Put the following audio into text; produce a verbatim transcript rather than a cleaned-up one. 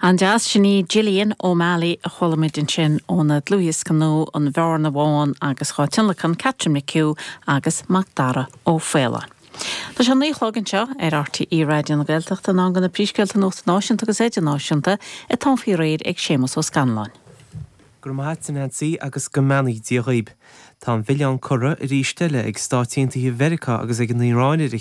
An-deas sin í Gillian O'Malley a chuala muid ansin óna dlúthdhiosca nua an Bhearna Bhán agus dhá tionlacan Catherine McHugh agus Macdara Ó Faoláin. Tá sé naoi a chlog anseo ar RTÉ Raidió na Gaeltachta in am do na príomhscéalta nuachta náisiúnta agus idirnáisiúnta atá faoi réir ag Séamus Ó Scanláin. Gur maith Nancy agus go mbeannaí Dia dhaoib. Tá an milleán curtha arís eile ag Stáit Aontaithe Mheiriceá agus ag an Iaráin ar a